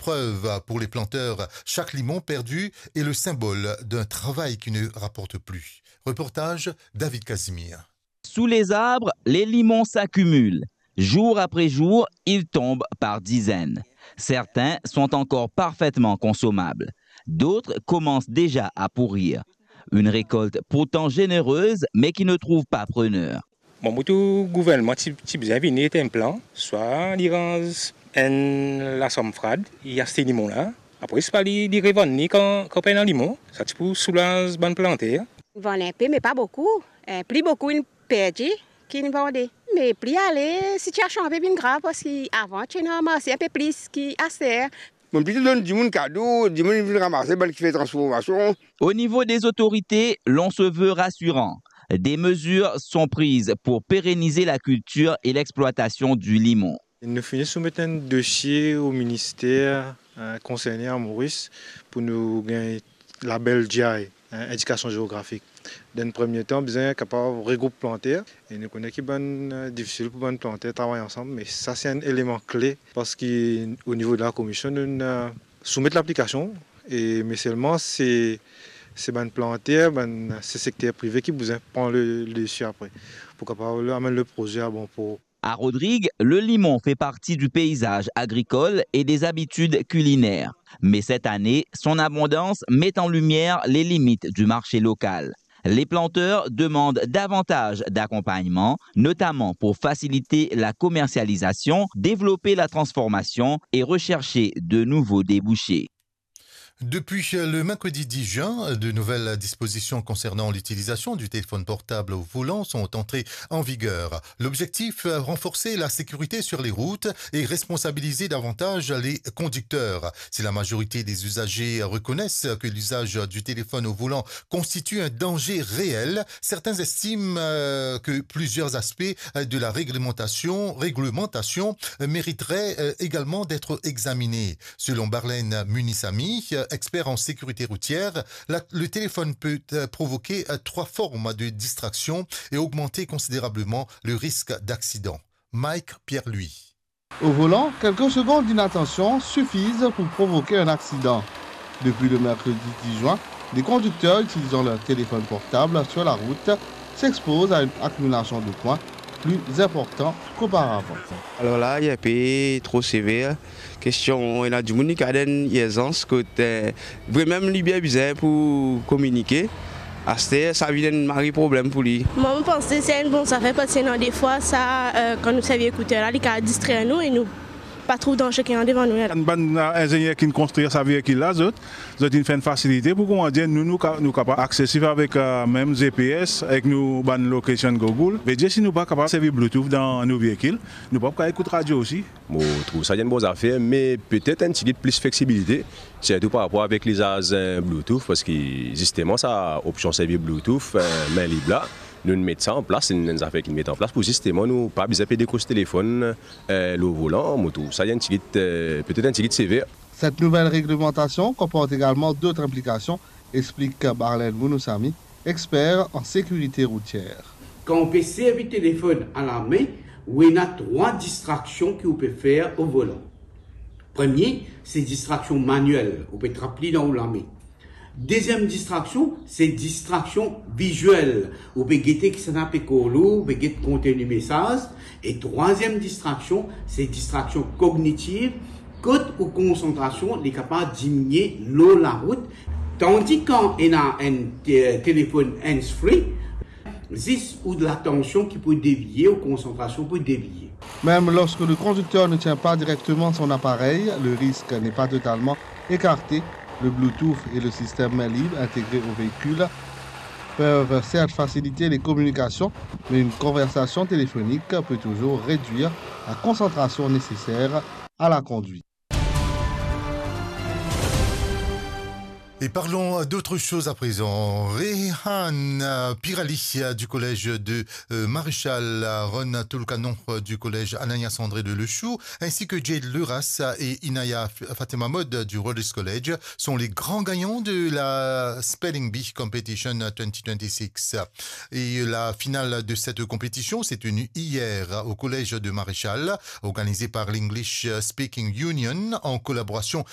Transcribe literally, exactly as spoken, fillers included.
preuve pour les planteurs. Chaque limon perdu est le symbole d'un travail qui ne rapporte plus. Reportage David Casimir. Sous les arbres, les limons s'accumulent. Jour après jour, ils tombent par dizaines. Certains sont encore parfaitement consommables. D'autres commencent déjà à pourrir. Une récolte pourtant généreuse, mais qui ne trouve pas preneur. Bon, mo trouv gouvernman ti, ti bizin vini et enn plan, swa li ranz enn lasam frad, li aste limon la, apre swa li, li revann li kan, kan pena limon, sa ti pou soulaz bann planter. Vann enpe, me pa boukou. Eh, pli boukou inn perdi ki inn vande. Me pli ale, sitiasion pe vinn grav, parski avan ti ena marse enpe plis ki aster. Bann piti donn dimoun kado, dimoun vinn ramase, bann ki fer transformasion. Au niveau des autorités, l'on se veut rassurant. Des mesures sont prises pour pérenniser la culture et l'exploitation du limon. Nou fini soumet enn dosie o minister eh, konserne a Moris pou nou gagn label G I, eh, indikasion zeografik. Dan enn premie tan, bizin kapav regroup planter e nou kone ki bann eh, difisil pou bann planter travay ansam, me sa se enn eleman kle parski o nivo de la komision nou inn eh, soumet laplikasion e me selman se se bann planter, bann se sekter prive ki bizin pran le, le desi apre pou kapav amenn le proze a bon port. À Rodrigues, le limon fait partie du paysage agricole et des habitudes culinaires. Mais cette année, son abondance met en lumière les limites du marché local. Les planteurs demandent davantage d'accompagnement, notamment pour faciliter la commercialisation, développer la transformation et rechercher de nouveaux débouchés. Depuis le mercredi dix juin, de nouvelles dispositions concernant l'utilisation du téléphone portable au volant sont entrées en vigueur. L'objectif, renforcer la sécurité sur les routes et responsabiliser davantage les conducteurs. Si la majorité des usagers reconnaissent que l'usage du téléphone au volant constitue un danger réel, certains estiment euh, que plusieurs aspects euh, de la réglementation, réglementation euh, mériteraient euh, également d'être examinés. Selon Barlen Munissami, expert en sécurité routière, la- le téléphone peut euh, provoquer euh, trois formes de distraction et augmenter considérablement le risque d'accident. Mike Pierre-Louis. Au volant, quelques secondes d'inattention suffisent pour provoquer un accident. Depuis le mercredi dix juin, les conducteurs utilisant leur téléphone portable sur la route s'exposent à une accumulation de points plus importante qu'auparavant. Alor la, li inpe tro sever. Kestion, ena dimoun li kapav dan enn irzans kot, eh, vremem li bien bizin pou kominike. Aster, sa vinn enn mari problem pou li. Mwa, mo panse se enn bon zafer, parski ena defwa sa, eh, kan nou servi ekoutèr la, li kapav distrer nou e nou pa trouv danze ki andevan nou la. Bann, bann, eh, inzenier ki'nn konstrir sa veikil la, zot, zot inn fer enn fasilite pou, kouma dir, nou, nou ka-, nou kapav aksesif avek, eh, mem G P S, avek nou bann location Google. Vedir si nou pa kapav servi Bluetooth dan nou veikil, nou pa pou kapav ekout radio osi. Mo trouv sa enn bon zafer, me petet enn tigit plis fleksibilite, sirtou par rapor avek lizaz, eh, Bluetooth, parski zisteman sa opsion servi Bluetooth, eh, min lib la, nou'nn met sa an plas, enn, enn zafer ki'nn met an plas pou zisteman nou pa bizin pe dekoz telefonn, eh, lor volan. Mo trouv sa enn tigit, eh, petet enn tigit sever. Cette nouvelle réglementation comporte également d'autres implications, explique Barlen Munusamy, expert en sécurité routière. Kan ou pe servi telefonn a lame, ou ena trwa distraksion ki ou pe fer o volan. Premie, se distraksion maniel, ou pe trap li dan ou lame. Deziem distraksion, se distraksion viziel. Ou pe gete kisannla pe kol ou, ou pe get konteni mesaz. E trwaziem distraksion, se distraksion kognitiv, kot ou konsantrasion li kapav diminie lor larout, tandi kan ena enn te-, telefonn hands-free, zis ou latansion ki pou devie, ou konsantrasion pou devie. Même lorsque le conducteur ne tient pas directement son appareil, le risque n'est pas totalement écarté. Le Bluetooth et le système main libre intégrés au véhicule peuvent certes faciliter les communications, mais une conversation téléphonique peut toujours réduire la concentration nécessaire à la conduite. Et parlons d'autre chose à présent. Rehan euh, Pirali euh, du collège de euh, Maréchal, Aaron Toulkanon euh, du collège Ananias André de Lechou, ainsi que Jade Luras et Inaya F- Fatima Mode du Rhodes College sont les grands gagnants de la Spelling Bee Competition twenty twenty-six. Et la finale de cette compétition s'est tenue hier au collège de Maréchal, organisée par l'English Speaking Union en collaboration